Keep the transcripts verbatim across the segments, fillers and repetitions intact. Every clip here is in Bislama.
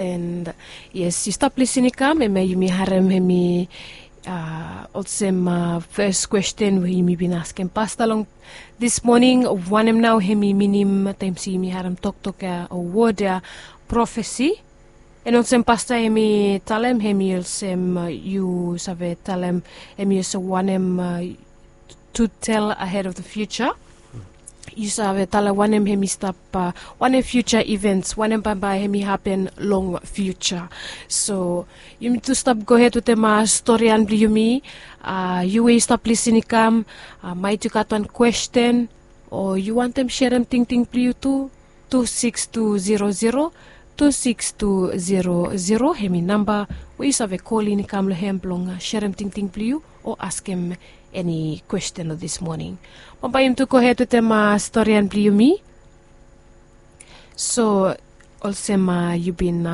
And yes, yu stap lisin i kam, hemia yumi harem hemi olsem fes kwesten we yumi bin askem pasta long this morning. Wanem nao hemi minim taem se yumi harem toktok ya o wod ya, profesi? And olsem pasta hemi talem, hemi olsem yu save talem, hemi olsem wanem to tell ahead of the future. Yu save talem wanem hemi stap, wanem future events, wanem bambae hemi hapen long future. So yumi tu stap gohed wetem storian blong yumi. Yu we yu stap lisin i kam, maet yu gat wan kwesten o yu wantem serem tingting blong yu tu, tu siks tu zero zero, tu siks tu zero zero hemi namba we yu save kolin i kam long hem blong serem tingting blong yu o askem eni kwesten long this moning. Bambae yumi tu gohed wetem storian blong yumi. So olsem yu bin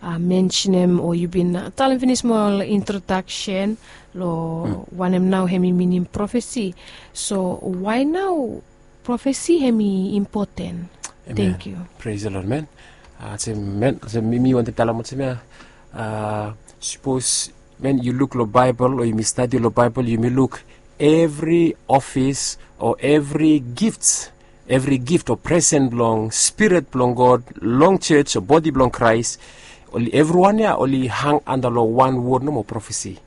mensenem o yu bin talem finis smol introdaksen long wanem nao hemi minim profesi. So wae nao profesi hemi impoten? Thank you. Praise the Lord, man. Olsem man, olsem mi wantem talem olsem ya, sapos man yu luk long Baebol o yumi stadi long Baebol, yumi luk evri ofis o evri gift, evri gift o presen blong Spirit blong God long jos o bodi blong Kraes, evriwan ya oli hang anda long wan wod nomo, profesi.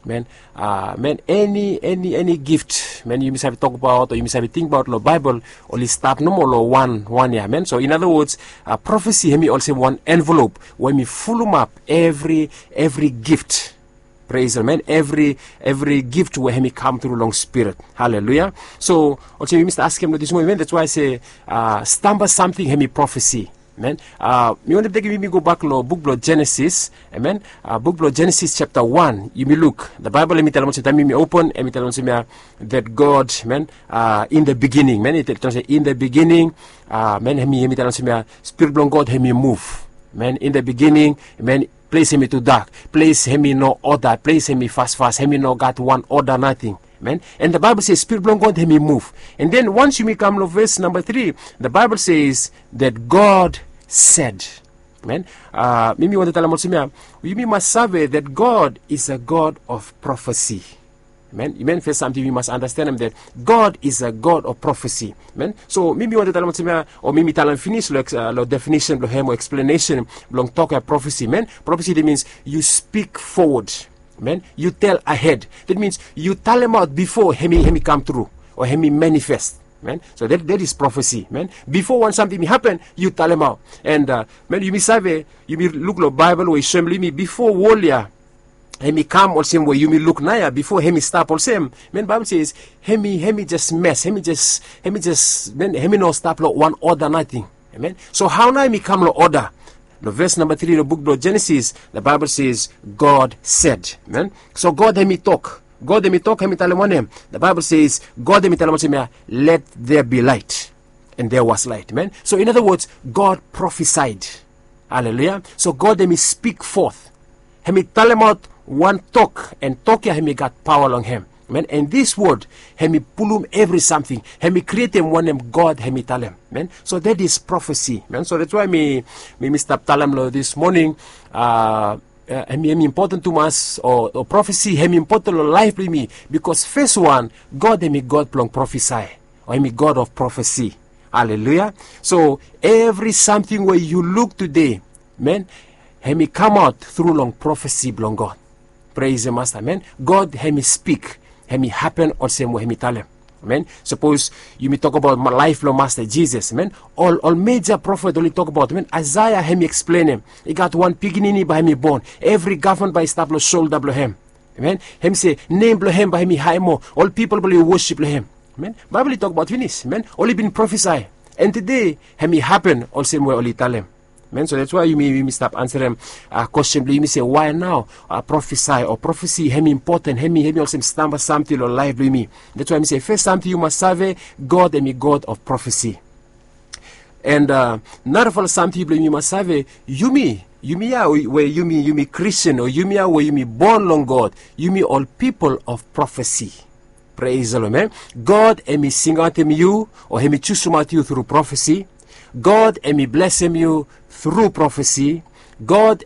Man, man, eni eni eni gift man yumi save tokbaot o yumi save tingbaot long Baebol oli stap nomo long wan wan ya, man. So in other words, profesi hemi olsem wan envelop we hemi fulumap evri evri gift. Praise the Lord, man. Evri evri gift we hemi kam tru long Spirit. Haleluya. So olsem yumi stap askem long this moning, man, that's why I say stamba samting hemi profesi. Man, mi wantem tekem yumi gobak long buk blong Jenesis. Amen. Buk blong Jenesis japta wan, yumi luk, the Baebol hemi talem olsem, taem yumi open hemi talem olsem ya, that God, man, in the beginning, man, i talem olsem in the beginning, man, hemi hemi talem olsem ya, Spirit blong God hemi muv. Man, in the beginning, man, ples hemi tudak, ples hemi no oda, ples hemi fasfas, hemi no gat wan oda nating. Amen. And the Bible says Spirit blong God hemi muv. And then once yumi kam long ves namba tri, the Bible says that God said. Amen. Mi mi wantem talem olsem ya, yumi mas save that God is a God of prophecy. Amen. Amen. Fes samting yumi mas andastenem that God is a God of prophecy. Amen. So mi mi wantem talem olsem ya, o mi mi talem finis long definition blong hem o eksplenesen blong tok ya profesi. Amen. Profesi, that means you speak forward. Amen. You tell ahead. That means yu talemaot bifo hemi hemi kam tru o hemi manifest. Amen. So that that is profesi. Amen. Bifo wan samting hemi hapen, yu talemaot. And man, yumi save, yumi luk long Baebol we i soem long yumi bifo wol ya hemi kam olsem we yumi luk naoia, bifo hemi stap olsem, man, Baebol says hemi hemi jes mes, hemi jes hemi jes man, hemi no stap long wan oda nating. Amen. So hao nao hemi kam long oda? Long ves namba tri long buk blong Jenesis, the Bible says God said. Amen. So God hemi tok. God hemi tok, hemi talem wanem? The Bible says God hemi talem olsem ya, let there be light. And there was light. Amen. So in other words, God prophesied. Haleluya. So God hemi speak forth. Hemi talemaot wan tok, and tok ya hemi gat paoa long hem. Amen. And this word hemi pulum evri samting. Hemi krietem wanem God hemi talem. Amen. So that is prophecy. Amen. So that's why mi mi mi stap talem long this morning, hemi hemi impoten tumas, o profesi hemi impoten long laef blong yumi. Bikos fes wan, God hemi God blong profesi, o hemi God of prophecy. Haleluya. So evri samting we yu luk tede, man, hemi kamaot tru long profesi blong God. Praise the Master, man. God hemi spik, hemi hapen olsem we hemi talem. Amen. Sapos yumi tokbaot laef blong Masta Jisas, amen, ol ol meja profet oli tokbaot, amen. Aesea hemi eksplenem, i gat wan pikinini bae hemi bon, evri gavman bae i stap long solda blong hem. Amen. Hemi se nem blong hem bae hemi hae moa, ol pipol bae oli wosip long hem. Amen. Baebol i tokbaot finis, amen. Oli bin profesi, and tede hemi hapen olsem we oli talem. Amen. So that's why yumi yumi stap ansarem kwesten blong yumi se, wae nao profesi o profesi hemi impoten, hemi hemi olsem stamba samting long laef blong yumi? That's why mi se fes samting yu mas save, God hemi God of profesi. And narafala samting blong yumi mas save, yumi yumi ya we yumi yumi Kristin, o yumi ya we yumi bon long God, yumi ol pipol of profesi. Praise the Lord, amen. God hemi singaotem yu o hemi jusumaot yu tru profesi. God hemi blesem yu tru profesi. God